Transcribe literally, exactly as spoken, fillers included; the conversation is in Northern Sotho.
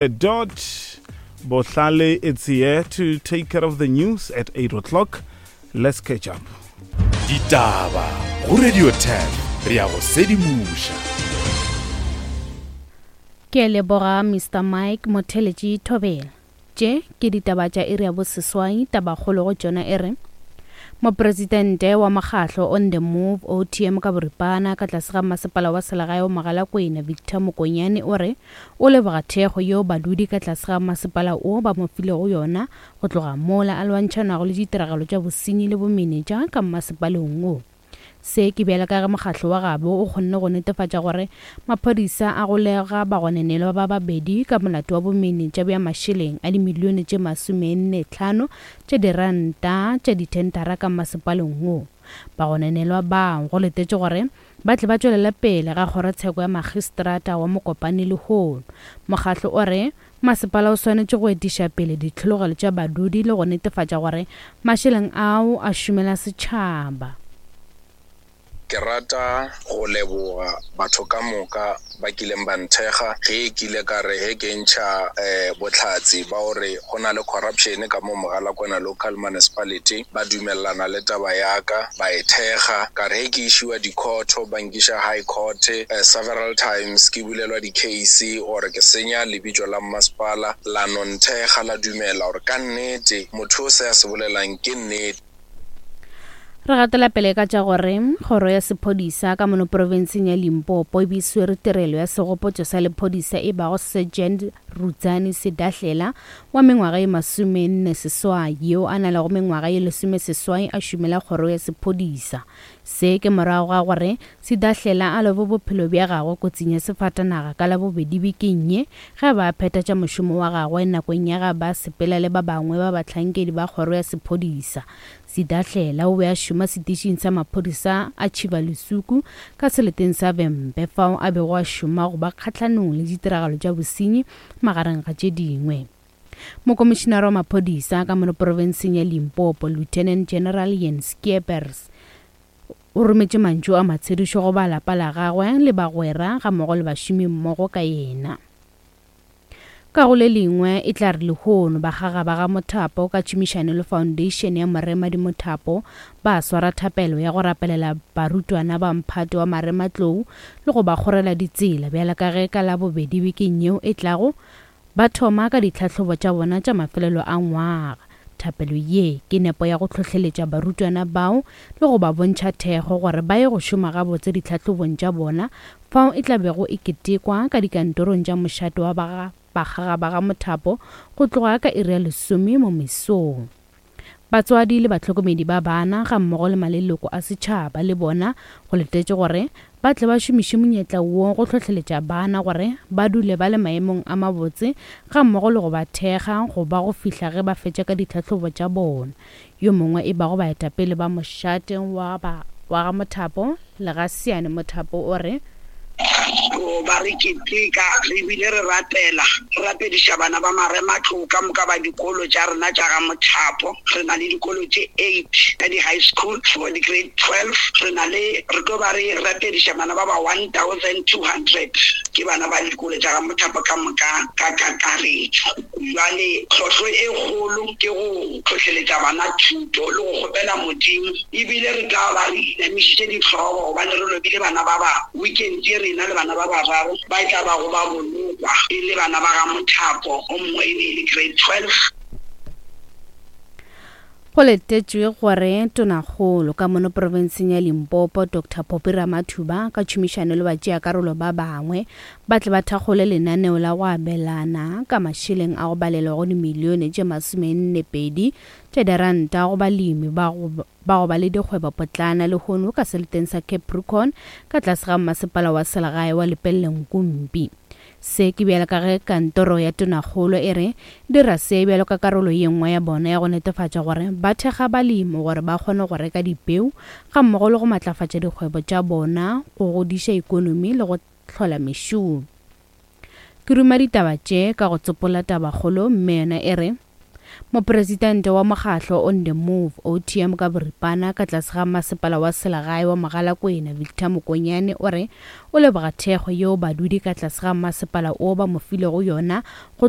Dot Bohlale it's here to take care of the news at eight o'clock. Let's catch up. Ditaba go Radio ten re ya go sedimoša. Ke leboga Mister Mike Motheletši Thobela. Tše ke ditaba tša iri ya boseswai, tabakgolo go tšona e re Mopresidente wa mokgahlo On The Move O T M ka boripana ka tlase ga masepala wa selegae wa Mogalakwena Victor Mokonyane o re o leboga thekgo yeo badudi ka tlase ga masepala o ba mo filego yona go tloga mola a lwantšhanago le ditiragalo tša bosenyi le bomenetša ka masepaleng wo. Se ke bjalo ka ge mokgahlo wa gabo o kgonne go netefatša gore maphodisa a golega bagononelwa ba babedi ka molato wa bomenetša bja mašeleng a dimilione tše masomenne tlhano tša diranta tša dithentara ka masepaleng wo. Bagononelwa bao go letetše gore ba tle ba tšwelele pele ga kgorotsheko ya magistrata wa Mokopane lehono. Mokgahlo o re masepala o swanetše go etiša pele ditlhologelo tša badudi le go netefatša gore mašeleng ao a šomela setšhaba. Ke rata go leboga batho ka moka ba kileng ba nthekga ge ke ile ka re he ke ntšha eh bohlatse ba hore go na le corruption ka mo Mogalakwena local municipality, ba dumellana le taba ya ka ba e thekga. Ka re he ke ishiwa di-court, ba nkiša high court eh, several times, ke bulelwa di-case gore ke senya lebitso la mmasepala, la no nthekga la dumela gore ka nnete motho o se a se bolelang ke nnete. Re gatela pele ka tša gore kgoro ya sephodisa ka mono profenseng ya Limpopo e be swere tirelo ya segopotšo sa lephodisa e bago Sergeant Rudzani Sedahlela wa mengwaga ye masomenne seswai yeo a na lego mengwaga ye lesome seswai a šomela kgoro ya sephodisa. Se ke morago ga gore Sedahlela a lobe bophelo bja gagwe kotsing ya sefatanaga ka labobedi bekeng ye ge ba phetha tša mošomo wa gagwe nakong ya ga ba sepela le ba bangwe ba bahlankedi ba kgoro ya sephodisa. Sedahlela o be a šoma setišing sa maphodisa a Tšhibalusuku ka seleteng sa Vhembe fao a bego a šoma go ba kgahlanong le ditiragalo tša bosenyi magareng ga tše dingwe. Mokomišenare wa maphodisa ka mono profenseng ya Limpopo Lieutenant General Jens Skeepers o rometše mantšu a matshedišo go ba lapa la gagwe le bagwera gammogo le bašomi mmogo ka yena. Ka go le lengwe e tla re lehono bakgaga ba ga Mothapo ka tšhomišano le Foundation ya Moremadi Mothapo ba swara thapelo ya go rapelela barutwana ba mphato wa Marematlou le go ba kgorela ditsela bjalo ka ge ka labobedi bekeng yeo e tlago ba thoma ka ditlhahlobo tša bona tša mafelelo a ngwaga. Thapelo ye ke nepo ya go hlohleletša barutwana bao le go ba bontšha thekgo gore ba ye go šoma gabotse ditlhahlobong tša bona fao e tla bego e ketekwa ka dikantorong tša mošate wa ba bakgaga ba ga Mothapo go tloga ka iri ya lesome mo mesong. Batswadi le bahlokomedi ba bana gammogo le maleloko a setšhaba le bona go letetše gore ba tle ba šomiše monyetla wo go hlohleletša bana gore ba dule ba le maemong a mabotse gammogo le go ba thekga go ba go fihla ge ba fetša ka ditlhahlobo tša bona. Yo mongwe e bago baetapele ba mošate wa ba wa ga Mothapo Legasiane Mothapo o re ba re keteka re bile re rapela re rapediša bana ba Marematlou ka moka ba dikolo tša rena tša ga Mothapo. Re na le dikolo tše eight ka di-high school for di grade twelve. Re na le re tlo ba re rapediša bana ba ba one thousand two hundred ke bana ba dikolo tša ga Mothapo ka moka ka kakaretšo. Jwale tlhohlo e kgolo ke go hlohleletša bana thuto le go kgopela Modimo, ebile re tla ba re inamišitše dihlogo gobane re lobile bana ba ba weekend ye rena le bana ba bararo ba e tla bago ba bolokwa e le bana ba ga Mothapo, o mongwe e be e le grade twelve. Go letetšwe gore tonakgolo ka mono profenseng ya Limpopo Doctor Phophi Ramathuba ka tšhomišano le batšeakarolo ba bangwe ba tle ba thakgole lenaneo la go abelana ka mašeleng a go balelwa go dimilione tše masomenne pedi tša diranta go balemi ba go ba go ba le dikgwebopotlana lehono ka seleteng sa Capricorn ka tlase ga masepala wa selegae wa Lepelle Nkumpi. Se ke bjalo ka ge kantoro ya tonakgolo e re dira se bjalo ka karolo ye nngwe ya bona ya go netefatša gore ba thekga balemi gore ba kgone go reka dipeu gammogo le go matlafatša dikgwebo tša bona go godiša ikonomi le go hlola mešomo. Ke ruma ditaba tše ka go tsopola tabakgolo mme yona e re Mopresidente wa mokgahlo On The Move, O T M ka boripana, ka tlase ga masepala wa selegae wa Mogalakwena, Victor Mokonyane, o re o leboga thekgo yeo badudi ka tlase ga masepala o ba mo filego yona go tloga